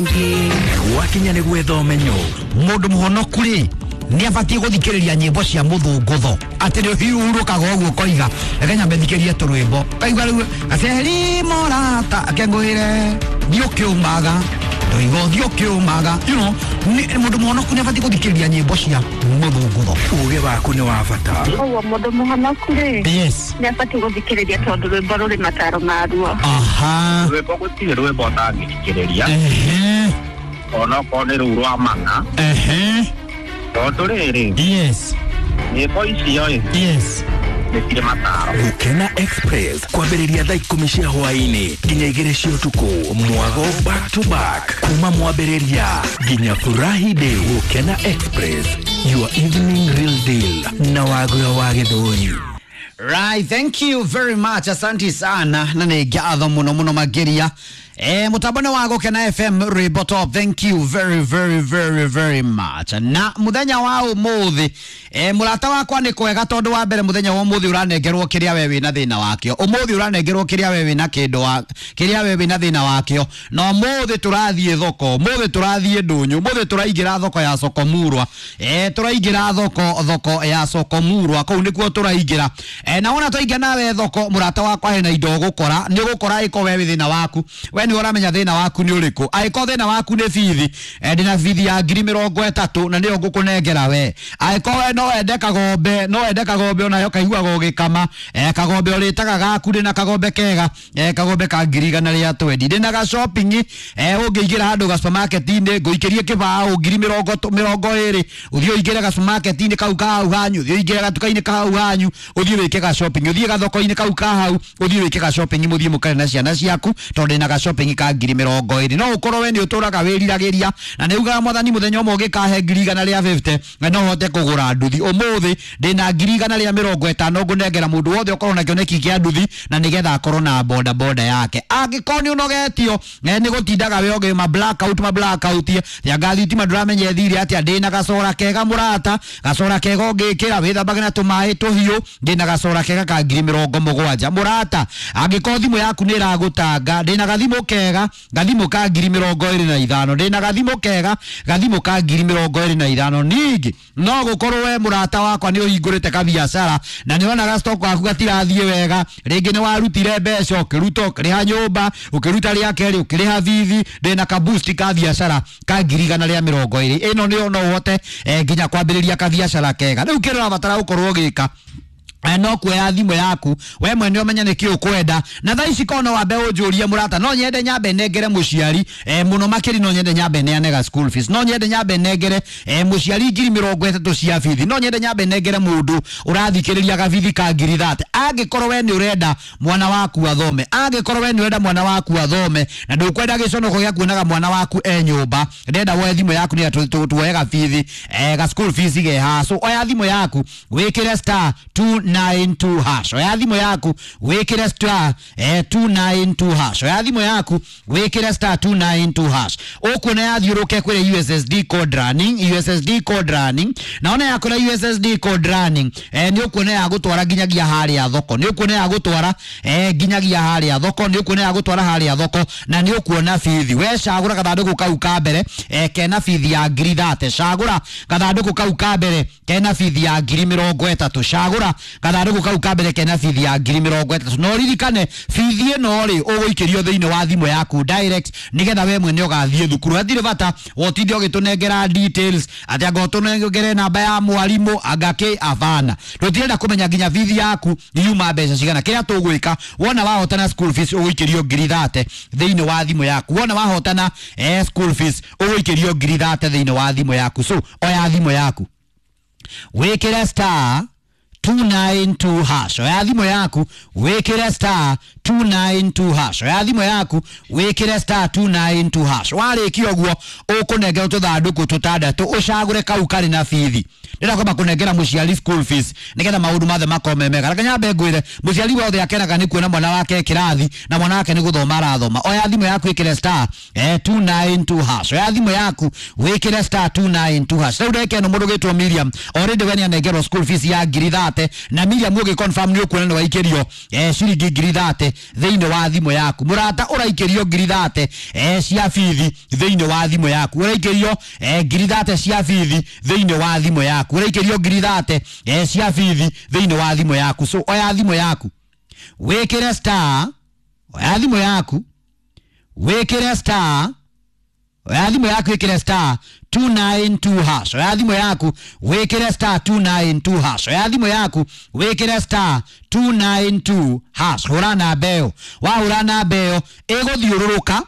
Gwakinya nĩ gwetha ũmenyo. Mũndũ mũhonoku rĩ nĩ abatiĩ gũthikĩrĩria nyĩmbo cia mũthũngũtho atĩ nĩ ũhurũkaga ũguo ũkoiga reke nyambe thikĩrie tũrwĩmbo kaigua rĩu gaceri morata akengũĩre thiĩ ũkĩũmaga ndoiga ũthiĩ ũkĩũmaga you know, mũndũ mũhonoku nĩ abatiĩ gũthikĩrĩria nyĩmbo cia mũthũngũtho. Ũgĩ waku nĩ wa bata. Koguo mũndũ mũhonoku rĩ, yes, nĩ abatiĩ gũthikĩrĩria tondũ rwĩmbo rũrĩ mataro maruo. Aha. Rwĩmbo gũtirĩ rwĩmbo ũtangĩthikĩrĩria. Ehe. Onokorwo nĩ rũu rwa mana. Ehe. Tondũ rĩrĩ, yes, nyĩmbo icio ĩ, yes, nĩ cirĩ mataro. Gũkena Express kwambĩrĩria thaa 10 cia hwaĩ-inĩ nginya 2 cia ũtukũ. Mwago back to back kuma mwambĩrĩria nginya Furahi Day. Gũkena Express, your evening real deal na Wagura wa Gĩthũri. Right, thank you very much. Asante sana na nĩ ngatho mũno mũno makĩria. Mũtambo nĩ wa Gũkena FM Rwĩmbo Top. Thank you very very very very much. Na mũthenya wa ũmũthĩ mũrata wakwa nĩ kwega tondũ wa mbere mũthenya wa ũmũthĩ ũranengerwo kĩrĩa we wĩna thĩna wakĩo. Ũmũthĩ ũranengerwo kĩrĩa we wĩna kĩndũ wa kĩrĩa we wĩna thĩna wakĩo. Na ũmũthĩ tũrathiĩ thoko, ũmũthĩ tũrathiĩ ndũnyũ, ũmũthĩ tũraingĩra thoko ya Sokomurwa. Tũraingĩra thoko ya Sokomurwa, kũu nĩkuo tũraingĩra. Na wona twaingĩra nawe thoko mũrata wakwa hena indo ũgũkora, nĩ ũgũkora ĩko we wĩ thĩna waku. We nĩ ũramenya thĩna waku nĩ ũrĩkũ. Angĩkorwo thĩna waku nĩ bithi, ndĩna bithi ya ngiri mĩrongo ĩtatũ na nĩyo ngũkũnengera we. Angĩkorwo we no wende kagombe, no wende kagombe onayo kaiguaga ũgĩkama, kagombe ũrĩtaga gaku, ndĩna kagombe kega, kagombe ka ngiri igana rĩa twendi. Ndĩna ga shopping, ũngĩingĩra handũ ga supermarket-inĩ ngũikĩrie kĩbaũ ngiri mĩrongo ĩrĩ, ũthiĩ ũingĩre ga supermarket-inĩ kau ka hau hanyu, ũthiĩ ũingĩre gatuka-inĩ ka hau hanyu, ũthiĩ wĩke ga shopping, ũthiĩ gathoko-inĩ kau ka hau, ũthiĩ wĩke ga shopping, mũthiĩ mũkare na ciana ciaku tondũ ndĩna ga shopping ka ngiri mĩrongo ĩrĩ. No ũkorwo we nĩ ũtũraga wĩriragĩria na nĩ ugaga mwathani mũthenya ũmwe ũngĩkahe ngiri igana rĩa 50 na no hote kũgũra nduthi. Ũmũthĩ ndĩna ngiri igana rĩa mĩrongo ĩtano ngũnengera mũndũ wothe ũkorwo na kĩoneki kĩa nduthi na nĩgetha akorwo na boda boda yake. Angĩkorwo nĩ ũnogetio nĩ gũtindaga we ũgĩ ma blackout ma blackout ya thitima ndũramenya ĩthire atĩa, ndĩna gacora kega mũrata, gacora kega ũngĩkĩra wĩthambage na tũmaĩ tũhiũ, ndĩna gacora kega ka ngiri mĩrongo mũgwanja mũrata. Angĩkorwo thimũ yaku nĩ ĩragũtanga, ndĩna gathimũ kega, gathimũ ka ngiri mĩrongo ĩrĩ na ithano, ndĩna gathimũ kega, gathimũ ka ngiri mĩrongo ĩrĩ na ithano. Ningĩ no gũkorwo we mũrata wakwa nĩ ũhingũrĩte kabiacara na nĩ wonaga stock waku gatirathiĩ wega, rĩngĩ nĩ warutire mbeca ũkĩruta ũkĩrĩha nyũmba, ũkĩruta rĩa kerĩ ũkĩrĩha bithi, ndĩna ka boost ka biacara ka ngiri igana rĩa mĩrongo ĩrĩ. Ĩno nĩyo no ũhote nginya kwambĩrĩria kabiacara kega. Rĩu kĩrĩa ũrabatara gũkorwo ũgĩka no kuoya thimũ yaku we mwene ũmenye nĩkĩ ũkwenda. Na thaa ici korwo no wambe ũnjũrie mũrata, no nyende nyambe nengere mũciari mũno makĩria, no nyende nyambe neane ga school fees, no nyende nyambe nengere mũciari ngiri mĩrongo ĩtatũ cia bithi, no nyende nyambe nengere mũndũ ũrathikĩrĩria gabithi ka ngiri 30. Angĩkorwo we nĩ ũrenda mwana waku athome, angĩkorwo we nĩ ũrenda mwana waku athome na ndũkwenda gĩconoko gĩa kuonaga mwana waku e nyũmba, ndenda woe thimũ yaku nĩ tuoye gabithi ga school fees ge haha. So oya thimũ yaku wĩkĩre star 292 hash. Oya thimũ yaku wĩkĩre star 292 hash. Oya thimũ yaku wĩkĩre star 292 hash. Ũkuona yathiũrũke kwĩre USSD code running, USSD code running. Na ona yakora USSD code running, nĩ ũkuona ya gũtwara nginyagia harĩa thoko, nĩ ũkuona ya gũtwara nginyagia harĩa thoko, nĩ ũkuona ya gũtwara harĩa thoko na nĩ ũkuona bithi. We cagũra gathandũkũ kau ka mbere kena bithi ya ngiri 30. Cagũra gathandũkũ kau ka mbere kena bithi ya ngiri mĩrongo ĩtatũ. Cagũra gathandũkũ kau ka mbere kena bithi ya ngiri mĩrongo ĩtatũ. No ririkane bithi ĩno rĩ ũgũikĩrio thĩinĩ wa thimũ yaku direct nĩgetha we mwene ũgathiĩ thukuru. Hatirĩ bata wotinde ũgĩtũnengera details atĩ anga ũtũnengere namba ya mwarimũ anga kĩ, abana. Tũtirenda kũmenya nginya bithi yaku yuma mbeca cigana. Kĩrĩa tũgwĩka, wona wahotana school fees ũgũikĩrio ngiri 30 thĩinĩ wa thimũ yaku. Wona wahotana school fees ũgũikĩrio ngiri 30 thĩinĩ wa thimũ yaku. So oya thimũ yaku wĩkĩre star 292 hash. Oya thimũ yaku wĩkĩre star 292 hash. Oya thimũ yaku wĩkĩre star 292 hash. Warĩkia ũguo ũkũnengerwo tũthandũkũ tũtandatũ, ũcagũre kau karĩ na bithi. Ndĩrenda kwamba kũnengera mũciari school fees nĩgetha maũndũ mothe makorwo me mega. Reke nyambe ngwĩre, mũciari wothe akenaga nĩ kuona mwana wake kĩrathi na mwana wake nĩ gũthoma arathoma. Oya thimũ yaku ĩkĩre star 292 hash. Oya thimũ yaku wĩkĩre star 292 hash. Rĩu ndagĩka ĩno mũndũ ũgĩtwo Miriam already we nĩanengerwo school fees ya 30,000, na Miriam ũgĩ confirm nĩ ũkuona nĩ waikĩrio ciringi 30,000 thĩinĩ wa thimũ yaku. Mũrata, ũraikĩrio 30,000 cia bithi thĩinĩ wa thimũ yaku. Ũraikĩrio 30,000 cia bithi thĩinĩ wa thimũ yaku. Ũraikĩrio 30,000 cia bithi thĩinĩ wa thimũ yaku. So oya thimũ yaku wĩkĩre star, oya thimũ yaku wĩkĩre star, oya thimũ yaku wĩkĩre star 292 hash. Oya thimũ yaku wĩkĩre star 292 hash. Oya thimũ yaku wĩkĩre star 292 hash. Hũra namba ĩyo. Wahũra namba ĩyo ĩgũthiũrũrũka,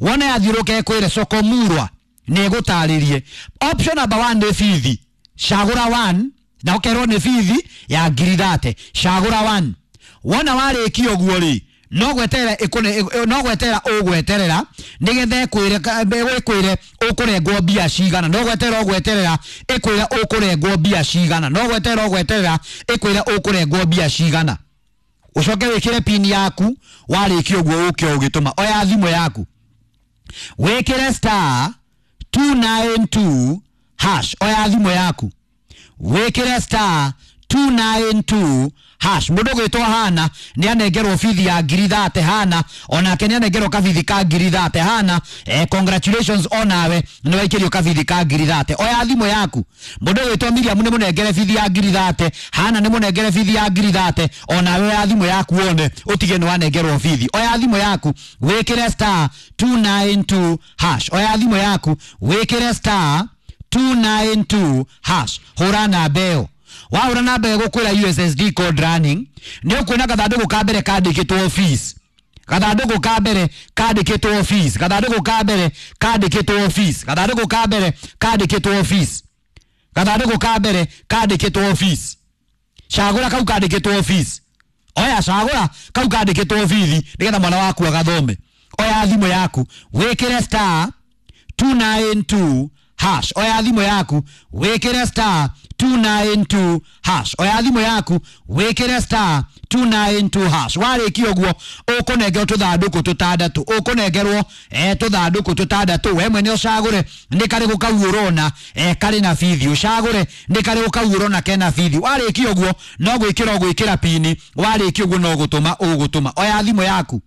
wona yathiũrũrũka ĩkwĩre sokomurwa nĩ ĩgũtarĩrie. Option number 1 nĩ bithi, cagũra 1 na ũkerwo nĩ bithi ya 30,000. Cagũra 1. Wona warĩkia ũguo rĩ, no gweterera no gweterera ũgweterera nĩgetha ĩkwĩre ũkũrengwo mbia cigana. No gweterera ũgweterera ĩkwĩre ũkũrengwo mbia cigana. No gweterera ũgweterera ĩkwĩre ũkũrengwo mbia cigana. Ũcoke wĩkĩre pin yaku. Warĩkia ũguo ũke ũgĩtũma. Oya thimũ yaku wĩkĩre star 292 hash. Oya thimũ yaku wĩkĩre star 292 hash. Mũndũ ũgwĩtwo Hana nĩ anengerwo bithi ya 30,000. Hana onake nĩ anengerwo kabithi ka 30,000. Hana, congratulations, onawe nĩ waikĩrio kabithi ka 30,000. Oya thimũ yaku. Mũndũ ũgwĩtwo Miriam nĩ mũnengere bithi ya 30,000. Hana nĩ mũnengere bithi ya 30,000. Onawe oya thimũ yaku wone ũtige nĩ wanengerwo bithi. Oya thimũ yaku wĩkĩre star 292 hash. Oya thimũ yaku wĩkĩre star 292 hash. Hũra namba ĩyo. Wahũra namba ĩyo gũkwĩra USSD code running. Nĩ ũkuona gathandũkũ ka mbere kandĩkĩtwo fees. Gathandũkũ ka mbere kandĩkĩtwo fees. Gathandũkũ ka mbere kandĩkĩtwo fees. Gathandũkũ ka mbere kandĩkĩtwo fees. Gathandũkũ ka mbere kandĩkĩtwo fees. Cagũra kau kandĩkĩtwo fees. Oya, cagũra kau kandĩkĩtwo bithi nĩgetha mwana waku agathome. Oya thimũ yaku wĩkĩre star 292 hash. Oya thimũ yaku wĩkĩre star 292 hash. Oya thimũ yaku wĩkĩre star 292 hash. Warĩkia ũguo ũkũnengerwo tũthandũkũ tũtandatũ. Ũkũnengerwo tũthandũkũ tũtandatũ. We mwene ũcagũre nĩ karĩkũ kau ũrona karĩ na bithi. Ũcagũre nĩ karĩkũ kau ũrona kena bithi. Warĩkia ũguo no gwĩkĩra ũgwĩkĩra pini. Warĩkia ũguo no gũtũma ũgũtũma. Oya thimũ yaku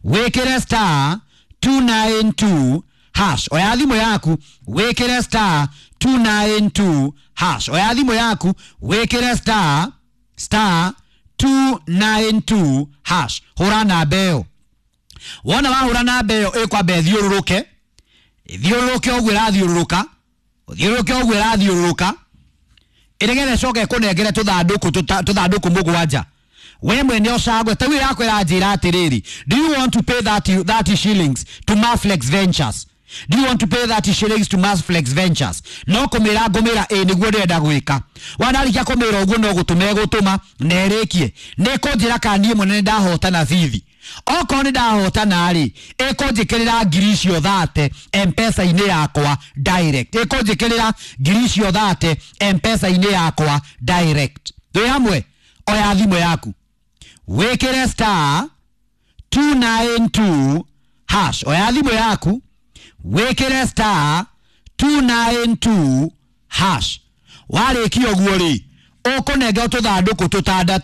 wĩkĩre star 292 hash. Oya thimũ yaku wĩkĩre star 292 hash. Oya thimũ yaku wĩkĩre star star 292 hash. Hũra namba ĩyo. Wona wahũra namba ĩyo ĩkwamba ĩthiũrũrũke, ĩthiũrũrũke ũguo ĩrathiũrũrũka, ũthiũrũrũke ũguo ĩrathiũrũrũka, ĩnĩgetha ĩcoke ĩkũnengere tũthandũkũ mũgwanja. We mwene ũcagũre. Ta rĩu ĩrakwĩra njĩra atĩrĩrĩ, do you want to pay 30 shillings to Maflex Ventures? Do you want to pay 30 shillings to Maflex Ventures? No kũmĩra ngũmĩra ĩ nĩguo ndĩrenda gwĩka. Wanarĩkia kũmĩra ũguo no gũtũma ĩgũtũma na ĩrĩkie. Nĩ ĩkũnjĩra kana niĩ mwene nĩndahotana bithi. Okorwo nĩ ndahotana rĩ, ĩkũnjĩkĩrĩra ngiri icio 30 M-Pesa-inĩ yakwa direct. Ĩkũnjĩkĩrĩra ngiri icio 30 M-Pesa-inĩ yakwa direct. Twĩ hamwe? Oya thimũ yaku wĩkĩre star 292 hash. Oya thimũ yaku wĩkĩre star 292 hash. Warĩkia ũguo rĩ, ũkũnengerwo tũthandũkũ tũtandatũ.